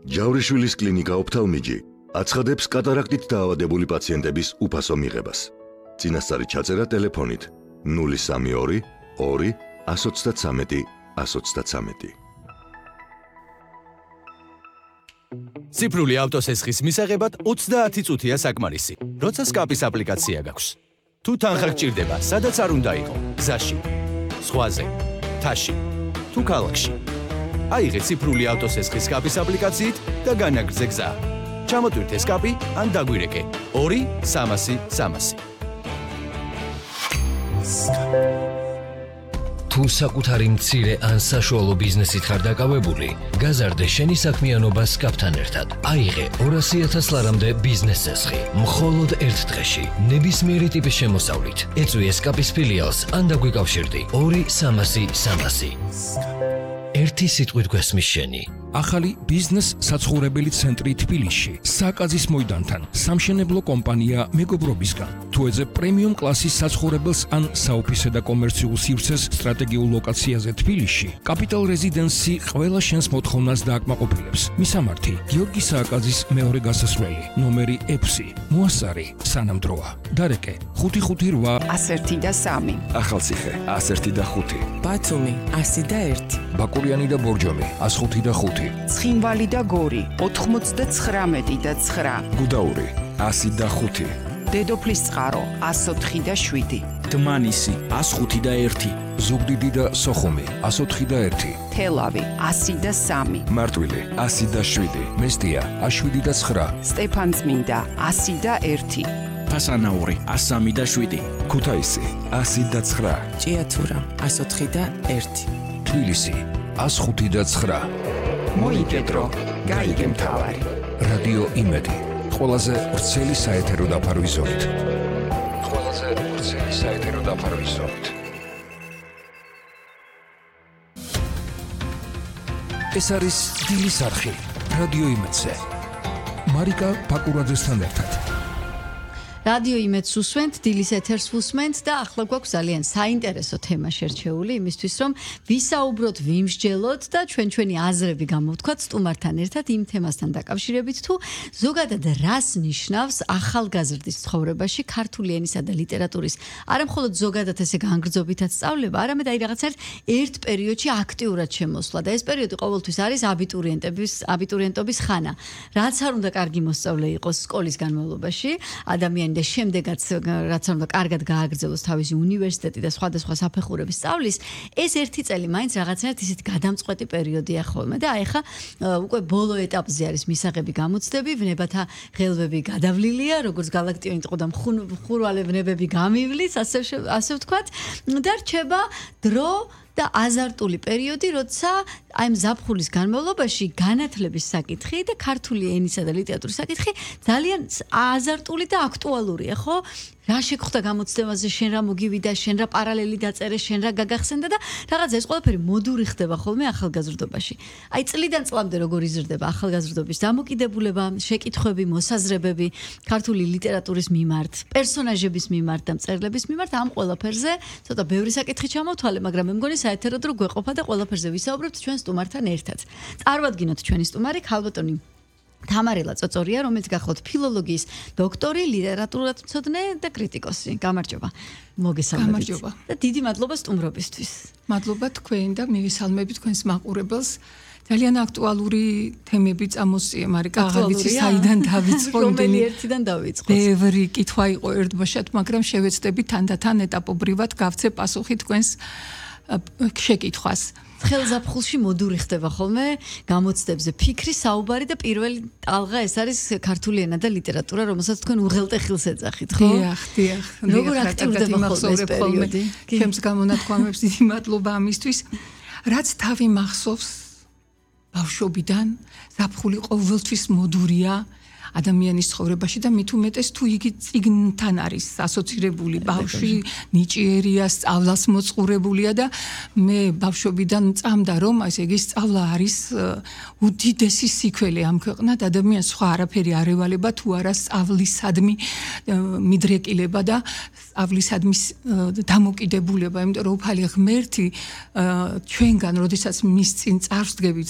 ჯავრიშვილის კლინიკა ოფთალმიჯი აცხადებს კატარაქტით დაავადებული პაციენტების უფასო მიღებას. წინასწარი ჩაწერა ტელეფონით 032 2 133 133. ციფრული ავტოსესხის მისაღებად 30 წუთია საკმარისი, როცა სკაპის აპლიკაცია გაქვს. თუ თანხა გჭირდება, სადაც არ უნდა იყო, გზაში, ზღვაზე, თაში, თუ ქალაქში. აიღე ციფრული ავტოსესხის სკაპის აპლიკაციით და განაგრძე გზა. ჩამოტვირთე სკაპი ან დაგვირეკე 2-300-300. თუ საკუთარი მცირე ან საშუალო ბიზნესით ხარ დაკავებული, გაზარდე შენი საქმიანობა სკაპთან ერთად. აიღე 200,000 ლარამდე ბიზნეს წესხი, მხოლოდ ერთ დღეში, ნებისმიერი ტიპის შემოსავლით. ეწვიე სკაპის ფილიალს ან დაგვიკავშირდი 2-300-300. ერთი სიტყვით გვესმის შენი. ახალი ბიზნეს საცხოვრებელი ცენტრი თბილისში, საკაზის მოედანთან, სამშენებლო კომპანია მეგობრობისგან. თუ ეძებ პრემიუმ კლასის საცხოვრებელს ან საოფისე და კომერციულ სივრცეს სტრატეგიულ ლოკაციაზე თბილისში, კაპიტალ რეზიდენსი ყველა შენს მოთხოვნას დააკმაყოფილებს. მისამართი: გიორგი სააკაძის მეორე გასასვლელი, ნომერი 6, მოასარი, სანამდროა. დარეკე: 558 101 და 3. ახალციხე 101 და 5. ბათუმი 101. ბაკურიანი და ბორჯომი 105 და 5. ცხინვალი და გორი 99 და 9. გუდაური 100 და 5. დედოფლის წყარო 104 და 7. დმანისი 105 და 1. ზუგდიდი და სოხუმი 104 და 1. თელავი 100 და 3. მარტვილი 100 და 7. მესტია 107 და 9. სტეფანწმინდა 100 და 1. ფასანაური 103 და 7. ქუთაისი 100 და 9. ჭიათურა 104 და 1. თბილისი 105 და 9. მოიგედრო, გაიგე მთავარი. რადიო იმედი, ყველაზე ვრცელი საეთერო დაფარვის ზოლით. ეს არის დილის არხი, რადიო იმედზე. მარიკა ბაკურაძესთან ერთად. რადიო იმედს უსვენთ, დილის ეთერს უსვენთ და ახლა გვაქვს ძალიან საინტერესო თემა შერჩეული იმისთვის, რომ ვისაუბროთ, ვიმსჯელოთ და ჩვენი აზრები გამოვთქვათ სტუმართან ერთად იმ თემასთან დაკავშირებით, თუ ზოგადად რას ნიშნავს ახალგაზრდის ცხოვრებაში ქართული ენისა და ლიტერატურის არა მხოლოდ ზოგადად ესე განგრძობითაც სწავლება, არამედ აი რაღაცა ერთ პერიოდში აქტიურად შემოსვლა და ეს პერიოდი ყოველთვის არის აბიტურიენტობის ხანა. რაც არ უნდა კარგი მოსწავლე იყოს სკოლის განმავლობაში, ადამიანი და შემდეგაც რაც უნდა კარგად გააგრძელოს თავისი უნივერსიტეტი და სხვადასხვა საფეხურების სწავლის, ეს ერთი წელი მაინც რაღაცნაირად ისეთი გადამწყვეტი პერიოდია ხოლმე და აი ხა უკვე ბოლო ეტაპზე არის მისაღები გამოცდები, ვნებათა ღელვები გადავლილია, როგორც galaktion იყო და მხურვალე ვნებები გამივლის, ასე ვთქვათ, და რჩება დრო და აზარტული პერიოდი, როცა აი მზაფხულის განმავლობაში განათლების საკითხი და ქართული ენისა და ლიტერატურის საკითხი ძალიან აზარტული და აქტუალურია, ხო? რა შეგხვდა გამოცდაზე, შენ რა მოგივიდა, შენ რა პარალელი დაწერე, შენ რა გაგახსენდა და რაღაცა ეს ყველაფერი მოდური ხდება ხოლმე ახალგაზრდობაში. აი წლიდან წლამდე როგორ იზრდება ახალგაზრდობის დამოკიდებულება, შეკითხვები, მოსაზრებები ქართული ლიტერატურის მიმართ, პერსონაჟების მიმართ და მწერლების მიმართ, ამ ყველაფერზე ცოტა ბევრი საკითხი ჩამოვთვალე, მაგრამ მე მგონი საერთოდ რო გვეყოფა და ყველაფერზე ვისაუბრებთ ჩვენ სტუმართან ერთად. წარმოვადგინოთ ჩვენი სტუმარი ქალბატონი თამარელა წოწორია, რომელიც გახლავთ ფილოლოგიის დოქტორი, ლიტერატურათმცოდნე და კრიტიკოსი. გამარჯობა. მოგესალმებით. გამარჯობა. და დიდი მადლობა სტუმრობისთვის. მადლობა თქვენ და მივესალმები თქვენს მაყურებელს. ძალიან აქტუალური თემები წამოსწია, მარიკა, აღარ ვიცი საიდან დავიწყო, რომელი ერთიდან დავიწყოთ. ბევრი კითხვა იყო ერთბაშად, მაგრამ შევეცდები თანდათან ეტაპობრივად გავცე პასუხი თქვენს შეკითხვას. ხელზაფხულში მოდური ხდება ხოლმე გამოცდებზე ფიქრი, საუბარი და პირველი ტალღა ეს არის ქართული ენა და ლიტერატურა, რომელსაც თქვენ უღელტეხილს ეძახით, ხო? დიახ. როგორ აქტიურდება ხოლმე ეს პერიოდი? ჩემს გამონათქვამებს დიდი მადლობა ამისთვის. რაც თავი მახსოვს ბავშვობიდან, ზაფხული ყოველთვის მოდურია ადამიანის ცხოვრებაში და მით უმეტეს თუ იგი წიგნთან არის ასოცირებული, ბავშვი ნიჭიერია, სწავლას მოწყურებულია და მე ბავშვობიდან წამდა რომ ესე იგი სწავლა არის უდიდესი სიქველი ამ ქვეყნად, ადამიანს სხვა არაფერი არ ევალება თუ არა სწავლისადმი მიდრეკილება და სწავლისადმი დამოკიდებულება, იმიტომ რომ უფალი ღმერთი ჩვენგან, როდესაც მის წინ წარსდგებით